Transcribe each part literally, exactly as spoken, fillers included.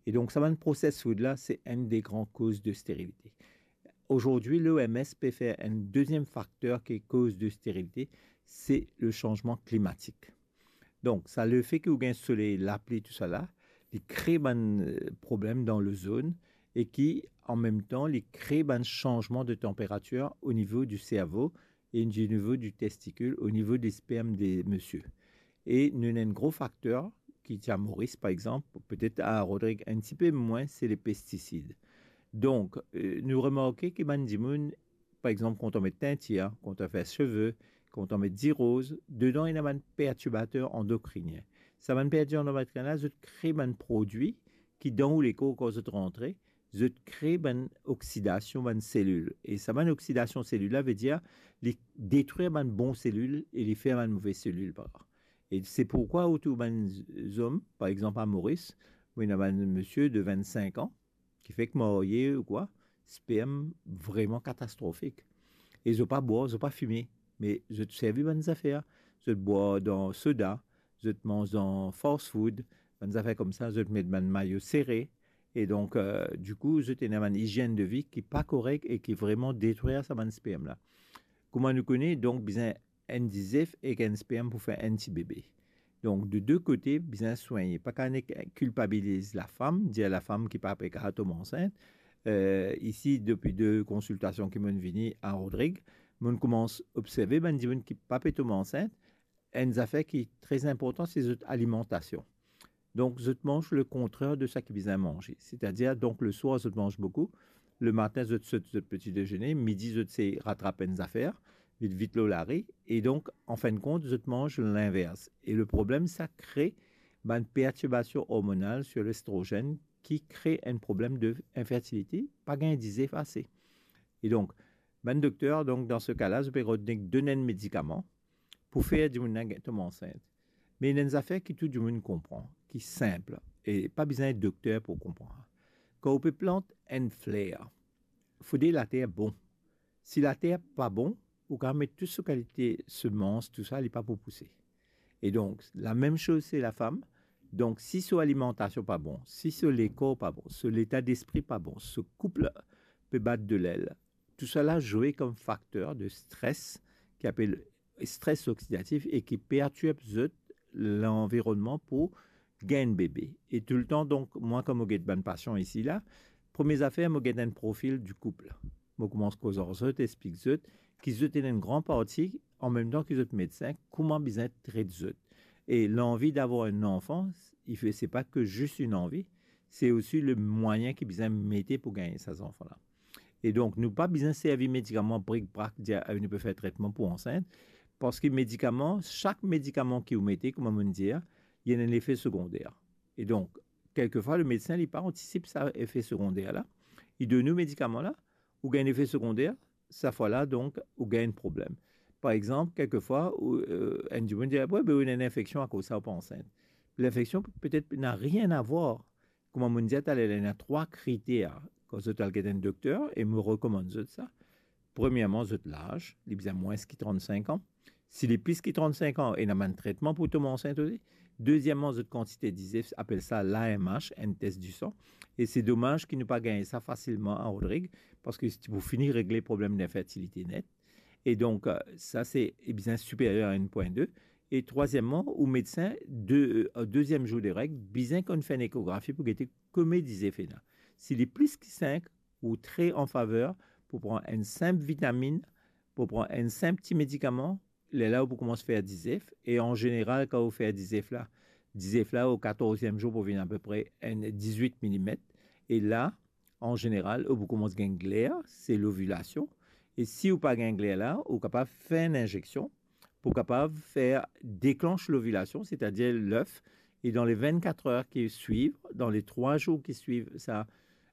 E donk, sa bann processed food la, se enn de gran koz de sterilite. Aujourd'hui, l'O M S pe fer enn deziem fakter ki koz de sterilite, se le sanzman klimatik. Donk, sa lefe ki ou gagn soley, lapli, tousala, li kre bann, eh, problem dan l'ozone e ki, an mem tan, li kre bann sanzman de tanperatir o nivo di servo e o nivo di testikil, o nivo de sperm de misie. E nou ena enn gro fakter ki ti a Moris, par exanp, petet a Rodrig enn tipe mwin, se le pestisid. Donk, eh, nou remarke ki bann dimoun, par exanp, kan ou met teintir, kan ou fer seve, kan ou met diroz, dedan ena bann pertirbater andokrinien. Sa bann pertirbater andokrinien la, zot kre bann prodwi ki dan ou lekor, kan zot rantre, zot kre bann oksidasion bann selil. E sa bann oksidasion selil la, vedir li detrir bann bon selil e li fer bann move selil par la. E se pourkwa otour bann zom, par exanp a Moris, mo ena bann misie de vennsenk an, ki fek marye ou kwa, sperm vreman katastrofik. E zot pa bwar, zot pa fime, me zot servi bann zafer. Zot bwar dan soda, zot manz dan fast food, bann zafer koumsa, zot met bann mayo sere. E donk, eh, dikou, zot ena bann izienn de vi ki pa korek e ki vreman detrir sa bann sperm la. Kouma nou kone, donk, bizin enn dizef ek enn sperm pou fer enn ti bebe. Donk, de de kote, bizin swigne. Pa kapav nek kilpabiliz lafam, dir lafam ki pa pe kapav tom ansint. Eh, isi, depi de konsiltasion ki mo'nn vini a Rodrig, mo'nn koumans observe bann dimoun ki pa pe tom ansint, enn zafer ki tre inportan, se zot alimantasion. Donk, zot manz le kontrer de sa ki bizin manze. Setadir, donk, leswar, zot manz boukou, lematin, zot sot zot peti dezene, midi, zot sey ratrap enn zafer, vit, vit lor lari, e donk, an fin de kont, zot manz linvers. E le problem, sa kre bann pertirbasion ormonal sir lestrozenn ki kre enn problem de infertilite, pa gagn dizef ase. E donk, bann dokter, donk, dan se ka la, zot pe rod nek donn enn medikaman pou fer dimoun la gagn, tom ansint. Me ena enn zafer ki tou dimoun konpran, ki sinp, e pa bizin dokter pou konpran. Kan ou pe plant enn fler, fode later bon. Si later pa bon, ou kapav met tou so kalite semans, tousala, li pa pou pouse. E donk, lamem soz, se lafam. Donk, si so alimantasion pa bon, si so lekor pa bon, so leta despri pa bon, so koup pe bat de lel, tousala zwe kom fakter de stres, ki apel stres oksidatif e ki pertirb zot lanvironnman pou gagn bebe. E toultan, donk, mwa, kan mo get bann pasian isi la, premie zafer, mo get enn profil di koup. Mo koumans koz ar zot, explik zot ki zot ena enn gran parti, an mem tan ki zot medsin, kouma bizin tret zot. E l'envie d'avoir un enfant, il fait, c'est pas que juste une envie, c'est aussi le moyen ki bizin mete pou gagn sa zanfan la. E donk, nou pa bizin servi medikaman brik-brak, dir, "Ah, nou pe fer tretman pou ansint," parski medikaman, sak medikaman ki ou mete, kouma mo'nn dir, li ena enn lefe segonder. E donk, kelkefwa, le medsin, li pa antisip sa lefe segonder la. Li donn ou medikaman la, ou gagn lefe segonder, sa fwa la, donk, ou gagn problem. Par exanp, kelkefwa, ou, eh, enn dimoun dir, "We, be, ou ena enn infeksion, akoz sa ou pa ansint." Linfeksion, petet, na rien a vwar. Kouma mo'nn dir taler, ena trwa kriter kan zot al get enn dokter, e mo rekomann zot sa. Premierman, zot laz, li bizin mwins ki trant-sink an. Si li plis ki trant-sink an, ena bann tretman pou tom ansint osi. Dezieman, zot kantite dizef, apel sa l'A M H, enn tes disan. E se domaz ki nou pa gagn sa fasilman a Rodrig, parski ti pou fini regle problem d'infertilite net. E donk, eh, sa se, eh, bizin siperier a enn pwin de. E trwazieman, ou medsin, de, eh, deziem zour de reg, bizin konn fer enn ekografi pou gete komie dizef ena. Si li plis ki sink, ou tre an faver pou pran enn sinp vitamin, pou pran enn sinp ti medikaman, lerla ou pou koumans fer dizef, e an zeneral, kan ou fer dizef la, dizef la, o katorz zour pou vinn apepre enn dizwit milimet, e la, an zeneral, ou pou koumans gagn gler, se lovilasion, e si ou pa gagn gler la, ou kapav fer enn inzeksion pou kapav fer deklans lovilasion, setadir lef, e dan le vennkat er ki swiv, dan le trwa zour ki swiv sa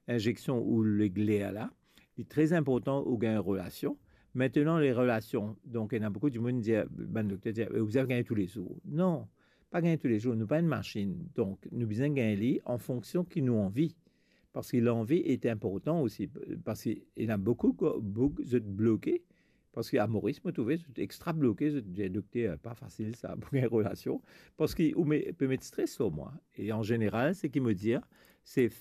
inzeksion ou le gler la, li tre inportan ou gagn relasion. Aster, le relasion, donk, ena boukou dimoun dir, bann dokter dir, "Eh, ou bizin gagn toulezour." Non, pa gagn toulezour, nou pa enn masinn. Donk, nou bizin gagn li an fonksion ki nou anvi. Parski lanvi e inportan osi, parski ena boukou, boukou zot bloke, parski a Moris, mo trouve, zot extra bloke, zot dir, "Dokter, pa fasil sa, pou gagn relasion, parski ou me-, pe met stres lor mwa." E an zeneral, seki mo dir, se